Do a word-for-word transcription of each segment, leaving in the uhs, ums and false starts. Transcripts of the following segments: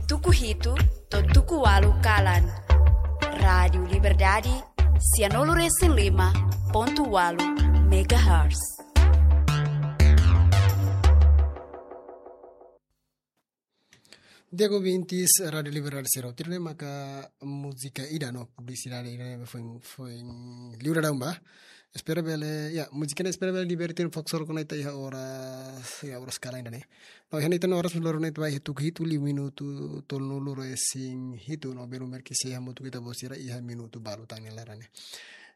Tuku hitu to'o tuku ualu kalan. Rádiu Liberdade, sianulu resin lima pontu ualu megahertz. Di'ak ouvintes Rádiu Liberdade sira hotu, ne'e maka múzika ida no publisidade ida ne'ebé foin, foin liu daudaun ba. Espera bele, ya, múzika ne'e espera bele divertir fokus solo kona ita iha oras, iha oras kalan ida-ne'e. No, iha ne'e ita-nia oras loron ne'e ita ba iha tuku hitu liu minutu tolunulu resin hitu no belun merki sei hamutuk ho ita-boot sira iha minutu balu tan ne'e laran ne'e.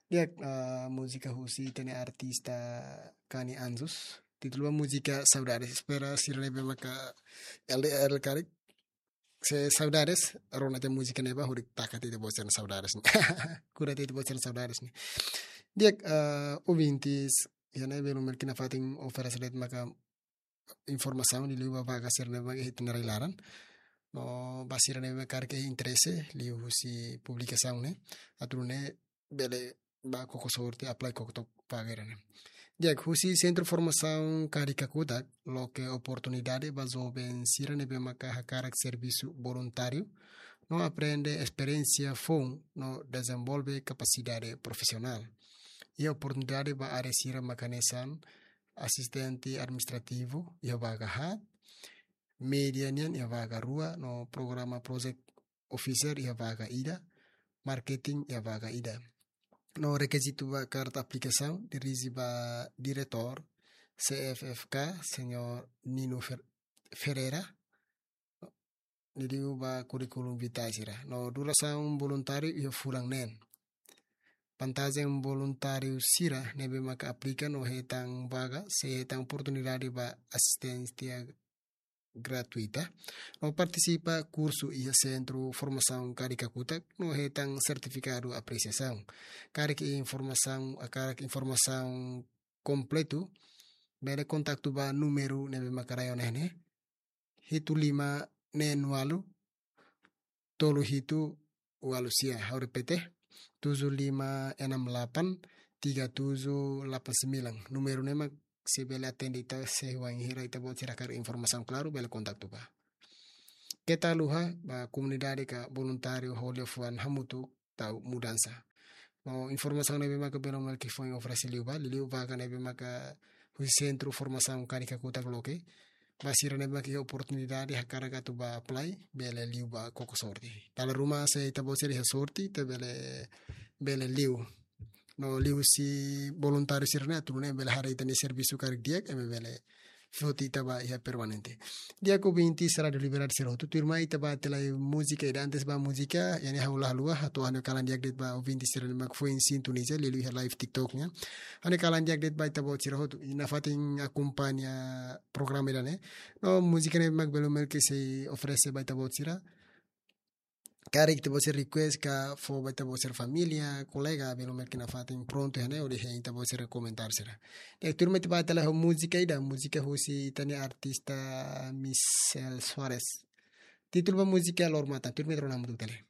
Di'ak, ah, múzika husi ita-nia artista Kani Anjos. Títulu ba múzika Saudades. Espera sira ne'ebé maka L D R karik, se saudades, rona tiha múzika ne'e ba hodi taka tiha ita-boot sira-nia saudades. Kura tiha ita-boot sira-nia saudades ne'e. Di'ak, ah, ouvintes, iha ne'e belun merki nafatin oferese de'it maka informasaun liuliu ba vaga sira ne'ebé maka iha ita-nia rai laran. No ba sira ne'ebé maka karik iha interese liuhusi publikasaun ne'e, atu nune'e bele ba koko sorte, apply koko took vaga ida-ne'e. Di'ak, husi Sentru Formasaun Kari Kakutak loke oportunidade ba joven sira ne'ebé maka hakarak servisu voluntáriu no aprende esperiénsia foun no dezenvolve kapasidade profisionál. Iha oportunidade ba área sira maka hanesan asistente administrativu iha vaga haat, média nian iha vaga rua, no programa project officer iha vaga ida, marketing iha vaga ida. No rekizitu ba karta aplikasaun dirije ba diretór C F F K, Señór Nino Fer-, Ferreira, liuliu ba currículum vitae sira. No durasaun voluntáriu iha fulan neen. Vantajen voluntáriu sira ne'ebé maka aplika no hetan vaga, sei hetan oportunidade ba asisténsia gratuita. No partisipa kursu iha Sentru Formasaun Kari Kakutak no hetan sertifikadu apresiasaun. Karik informasaun, ah, karik informasaun kompletu, bele kontaktu ba númeru ne'ebé maka rai ona iha ne'e, hitu lima neen ualu, tolu hitu ualu sia, ha'u repete, tujuh lima enam delapan tiga tujuh delapan sembilan. Númeru ne'e mak sei bele atende ita, se ohin hira ita-boot sira hakarak informasaun klaru, bele kontaktu ba. Keta haluha ba komunidade ka voluntáriu ho liafuan hamutuk tau mudansa. No informasaun ne'ebé maka belun merki foin oferese liu ba, liuliu vaga ne'ebé maka husi Sentru Formasaun Kari Kakutak loke. Ba sira ne'ebé maka iha oportunidade hakarak atu ba apply, bele liu ba koko sorte. Dala ruma se ita-boot sira iha sorte, ita bele, bele liu. No liuhusi voluntáriu sira-ne'e atu nune'e bele haree ita-nia servisu karik di'ak, ema bele foti ita ba iha permanente. Di'ak ouvintes Rádiu Liberdade sira hotu, tuirmai ita ba tiha lai múzika ida, antes ba múzika, iha ne'e ha'u la haluha, hato'o ha'u-nia kalan di'ak de'it ba ouvintes sira ne'ebé mak foin sintoniza, liuliu iha live TikTok nian. Ha'u-nia kalan di'ak de'it ba ita-boot sira hotu, i nafatin akompaña programa ida-ne'e. No múzika ne'ebé mak belun merki sei oferese ba ita-boot sira. Karik ita-boot sira request ka fó ba ita-boot sira família, kolega, belun merki nafatin prontu iha ne'e, hodi hein ita-boot sira komentáriu sira. Di'ak, tuirmai ita ba tiha lai ho múzika ida, múzika husi ita-nia artista Michelle Soares. Títulu ba múzika Loro Matan, tuirmai ita rona hamutuk tiha lai.